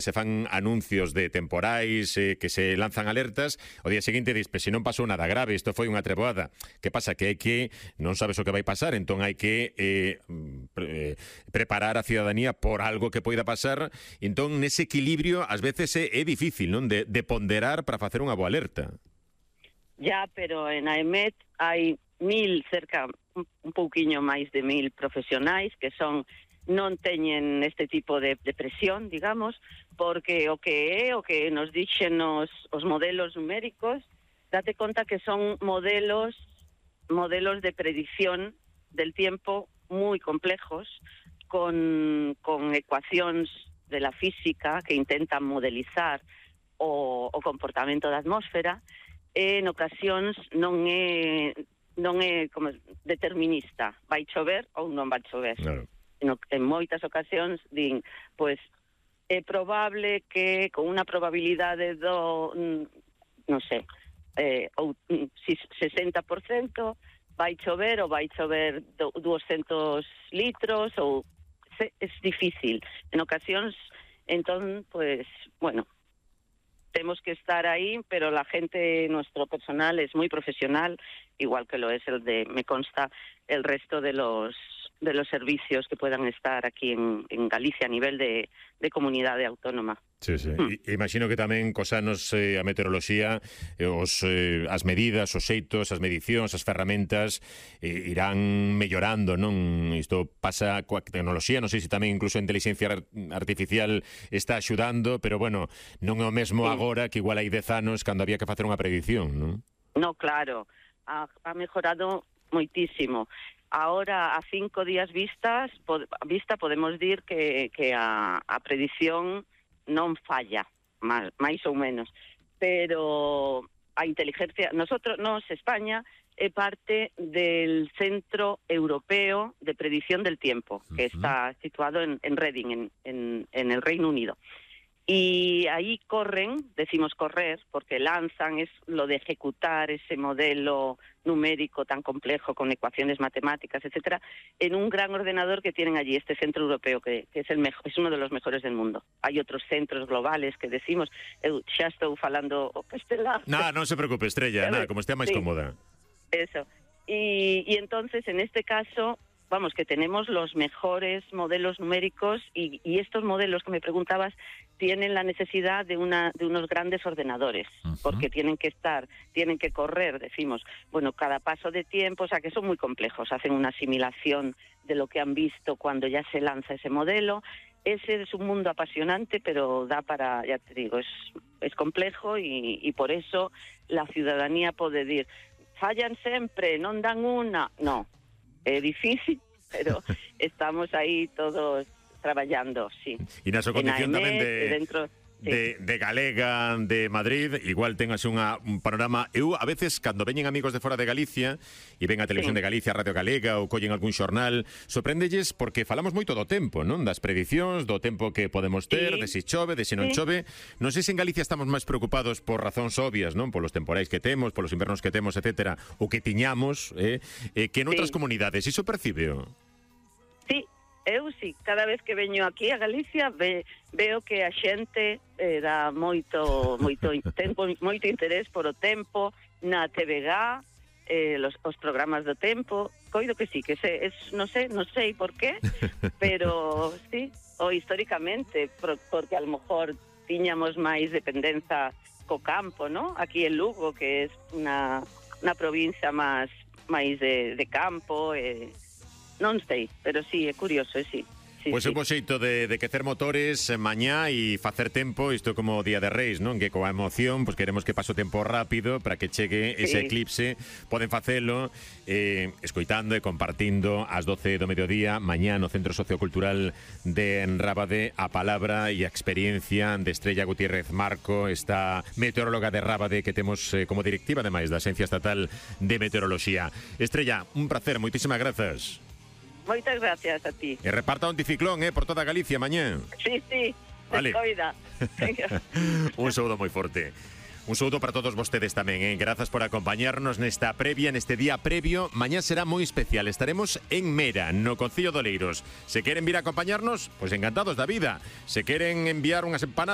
se fan anuncios de temporais, que se lanzan alertas, o día seguinte dis, se non pasou nada grave, isto foi unha treboada. Que pasa? Que hai que, non sabes o que vai pasar, entón hai que preparar a ciudadanía por algo que poida pasar, entón nese equilibrio ás veces é difícil, non? De ponderar para facer unha boa alerta. Ya, pero en AEMET hai cerca, un pouquiño máis de 1000 profesionais que non teñen este tipo de presión, digamos, porque o que nos dixen os modelos numéricos, date conta que son modelos de predicción del tiempo moi complejos, con ecuacións de la física que intentan modelizar o comportamento da atmósfera. En ocasións non é como determinista, vai chover ou non vai chover. Claro. En moitas ocasións din, pois é probable que con unha probabilidade non sei, 60% vai chover ou vai chover 200 litros, ou é difícil. En ocasións, entón, pois, bueno, tenemos que estar ahí, pero la gente, nuestro personal es muy profesional, igual que lo es me consta, el resto de los servicios que puedan estar aquí en Galicia a nivel de comunidade autónoma. Sí, sí. Imagino que tamén cos anos a meteoroloxía, as medidas, os xeitos, as medicións, as ferramentas irán mellorando, non? Isto pasa coa tecnoloxía, non sei se tamén incluso a inteligencia artificial está axudando, pero bueno, non é o mesmo agora que igual hai 10 anos cando había que facer unha predicción, non? No, claro, ha mejorado moitísimo. Ahora, a 5 días vista, podemos dir que a predicción non falla, máis ou menos, pero a inteligencia, España é parte del Centro Europeo de Predicción del Tiempo, que está situado en Reading, en el Reino Unido. Y ahí decimos correr, porque lanzan es lo de ejecutar ese modelo numérico tan complejo con ecuaciones matemáticas, etcétera, en un gran ordenador que tienen allí, este centro europeo, que es el mejor, es uno de los mejores del mundo. Hay otros centros globales que decimos, xa estou falando castelán. Non se preocupe, Estrella, como estea máis cómoda. Eso. Y entonces, en este caso, vamos, que tenemos los mejores modelos numéricos y estos modelos que me preguntabas tienen la necesidad de unos grandes ordenadores, porque tienen que correr, decimos, bueno, cada paso de tiempo, o sea, que son muy complejos, hacen una asimilación de lo que han visto cuando ya se lanza ese modelo. Ese es un mundo apasionante, pero da para, ya te digo, es complejo y por eso la ciudadanía pode dir, fallan sempre, non dan unha, no. É difícil, pero estamos aí todos traballando, sí. E na súa condición tamén de galega de Madrid, igual tengas un panorama. Eu, a veces, cando veñen amigos de fora de Galicia e ven a Televisión de Galicia, Radio Galega, ou collen algún xornal, sorpréndelles porque falamos moito do tempo, non? Das predicións, do tempo que podemos ter, de se chove, de se non chove. Non sei se en Galicia estamos máis preocupados por razóns obvias, non? Polos temporais que temos, polos invernos que temos, etcétera, o que tiñamos, que en outras comunidades. Iso percibeo? Sí. Eu sí, cada vez que veño aquí a Galicia veo que a xente dá moito interés por o tempo na TVG, os programas do tempo. Coido que sí, que non sei por qué, pero sí, ou históricamente, porque a lo mejor tiñamos máis dependenza co campo, ¿no? Aquí en Lugo, que é unha provincia máis de campo, non sei, pero sí, é curioso, sí. Pois é un bo xeito de quecer motores mañá e facer tempo, isto como Día de Reis, non? Que coa emoción, pois queremos que pase o tempo rápido para que chegue ese eclipse. Poden facelo escoitando e compartindo ás 12 do mediodía mañá no Centro Sociocultural de Rábade a palabra e a experiencia de Estrella Gutiérrez Marco, esta meteoróloga de Rábade que temos como directiva, ademais, da Axencia Estatal de Meteoroloxía. Estrella, un placer, moitísimas grazas. Moitas gracias a ti. E reparta o anticiclón, por toda Galicia mañá. Sí, vale. Descoida. Un saúdo moi forte. Un saúdo para todos vostedes tamén, Grazas por acompañarnos nesta previa, neste día previo. Mañá será moi especial, estaremos en Mera, no Concello de Oleiros. Se queren vir a acompañarnos, pois encantados da vida. Se queren enviar unhas empanadas